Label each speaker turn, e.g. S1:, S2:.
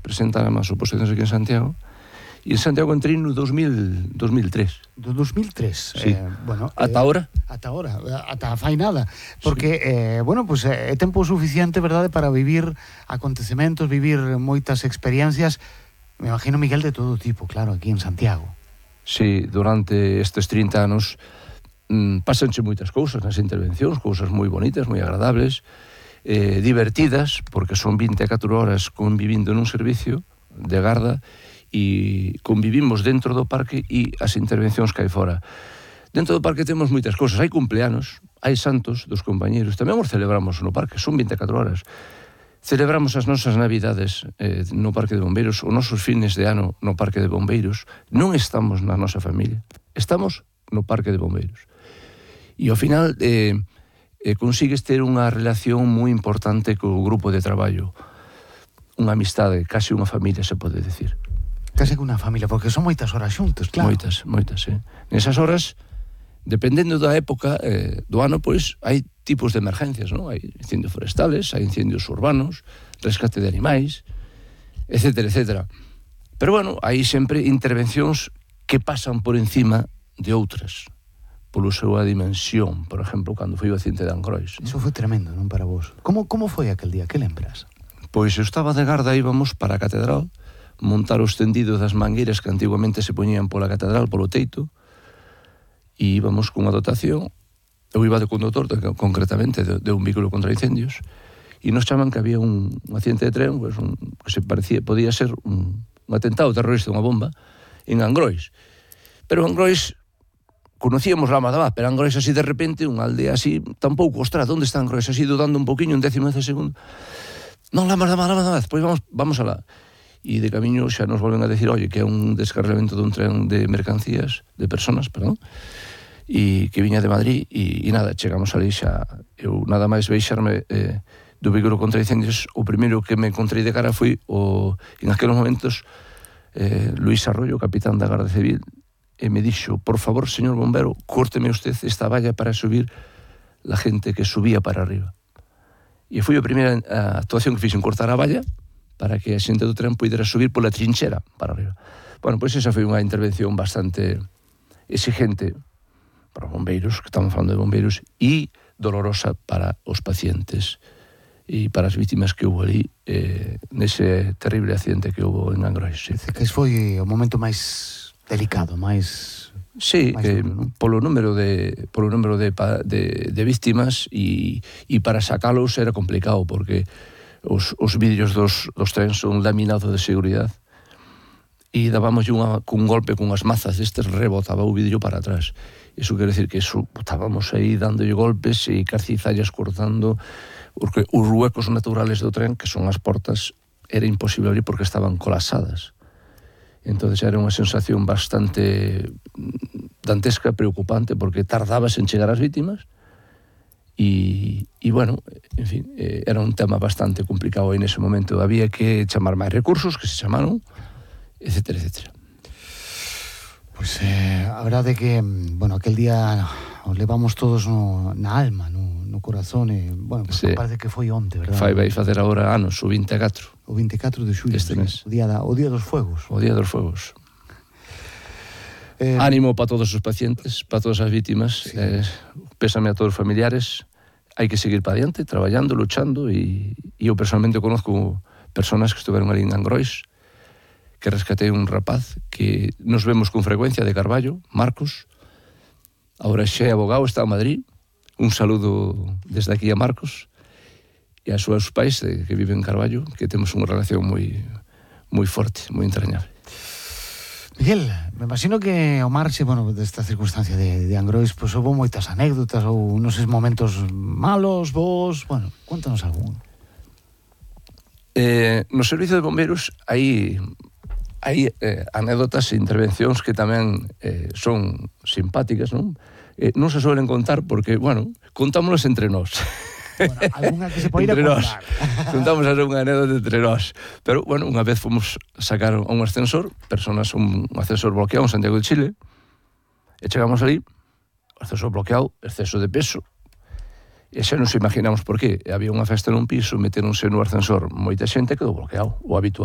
S1: presentan as oposicións aquí en Santiago, e en Santiago entrei no 2003.
S2: Do 2003?
S1: Sí. Ata ahora?
S2: Ata ahora, ata fai nada. Porque, é tempo suficiente, verdade, para vivir acontecementos, vivir moitas experiencias, me imagino, Miguel, de todo tipo, claro, aquí en Santiago.
S1: Sí, durante estes 30 anos pásanse moitas cousas nas intervencións, cousas moi bonitas, moi agradables, divertidas, porque son 24 horas convivindo nun servicio de garda e convivimos dentro do parque e as intervencións que hai fora. Dentro do parque temos moitas cousas, hai cumpleanos, hai santos dos compañeros, tamén os celebramos no parque, son 24 horas. Celebramos as nosas navidades no parque de bombeiros, os nosos fines de ano no parque de bombeiros. Non estamos na nosa familia, estamos no parque de bombeiros. E ao final consigues ter unha relación moi importante co grupo de traballo, unha amistade, case unha familia, se pode decir.
S2: Case que unha familia, porque son moitas horas xuntos, claro.
S1: Moitas, Nesas horas, dependendo da época do ano, pois, hai tipos de emergencias, non? Hai incendios forestales, hai incendios urbanos, rescate de animais, etcétera, etcétera. Pero, bueno, hai sempre intervencións que pasan por encima de outras, polo súa dimensión. Por exemplo, cando foi o accidente de Angrois.
S2: Iso foi tremendo, non, para vos? Como foi aquel día? Que lembras?
S1: Pois eu estaba de garda, íbamos para a catedral, montar os tendidos das mangueiras que antiguamente se poñían pola catedral, polo teito, e íbamos cunha dotación. Eu iba de conductor, concretamente, de un vehículo contra incendios, e nos chaman que había un accidente de tren, pues, que se parecía, podía ser un atentado terrorista, unha bomba, en Angrois. Pero Angrois, conocíamos Lama da Vaz, pero Angrois así de repente, unha aldea así, tampouco, ostras, onde está Angrois? Así dudando un poquinho, un décimo de segundo. Non, Lama da Vaz, pois vamos alá. E de camiño xa nos volven a decir, oye, que é un descarrilamento dun tren de mercancías, de personas, perdón, e que viña de Madrid, e nada, chegamos ali xa, eu nada máis veixarme do vehículo contra incendios, o primeiro que me encontrei de cara foi, en aqueles momentos, Luis Arroyo, capitán da Garda Civil, e me dixo, por favor, señor bombero, córteme usted esta valla para subir la gente que subía para arriba. E foi a primeira actuación que fixen, cortar a valla, para que a xente do tren pudera subir pola trinchera para arriba. Bueno, pois esa foi unha intervención bastante exigente para bombeiros, que estamos falando de bombeiros, e dolorosa para os pacientes e para as vítimas que houve ali nese terrible accidente que houve en Angrois. Sí.
S2: Que foi o momento máis delicado, máis...
S1: Sí, polo número de vítimas e para sacalos era complicado, porque os vidrios dos trens son laminados de seguridade e dábamos cun golpe con as mazas destes, rebotaba o vidrio para atrás. Iso quere decir que estábamos aí dándolle golpes e cizallas cortando, porque os huecos naturales do tren, que son as portas, era imposible abrir porque estaban colapsadas. Entonces era unha sensación bastante dantesca, preocupante, porque tardabas en chegar ás vítimas. E bueno, en fin, era un tema bastante complicado aí nese momento. Había que chamar máis recursos, que se chamaron, etcétera, etcétera.
S2: Pois a verdade é que, bueno, aquel día os levamos todos na alma, no corazón, e, bueno, pues, sí. Parece que foi onte, verdade?
S1: Vai facer agora anos, o 24.
S2: O 24 de xullo,
S1: este mes.
S2: O día dos fuegos.
S1: O día dos fuegos. Ánimo para todos os pacientes, para todas as vítimas, sí. Pésame a todos os familiares. Hai que seguir para adiante, traballando, luchando, e eu personalmente conozco personas que estuveron ali en Angrois, que rescatei un rapaz que nos vemos con frecuencia de Carballo, Marcos, agora xa é abogado, está en Madrid. Un saludo desde aquí a Marcos e a súas pais que viven en Carballo, que temos unha relación moi forte, moi entrañable.
S2: Miguel, me imagino que ao marxe, bueno, desta circunstancia de Angrois, pois houve moitas anécdotas ou noses momentos malos, vos, bueno, cuéntanos algún.
S1: No servicio de bombeiros hai anécdotas e intervencións que tamén son simpáticas, non? Non se suelen contar porque, bueno, contámonos entre nós.
S2: Bueno, alguna que se poida contar.
S1: Contamos a unha anécdota entre nós. Pero, bueno, unha vez fomos sacar a un ascensor, un ascensor bloqueado en Santiago de Chile, e chegamos ali, o ascensor bloqueado, exceso de peso, e xa nos imaginamos por qué. Había unha festa nun piso, meteronse no ascensor moita xente, quedou bloqueado, o habitual.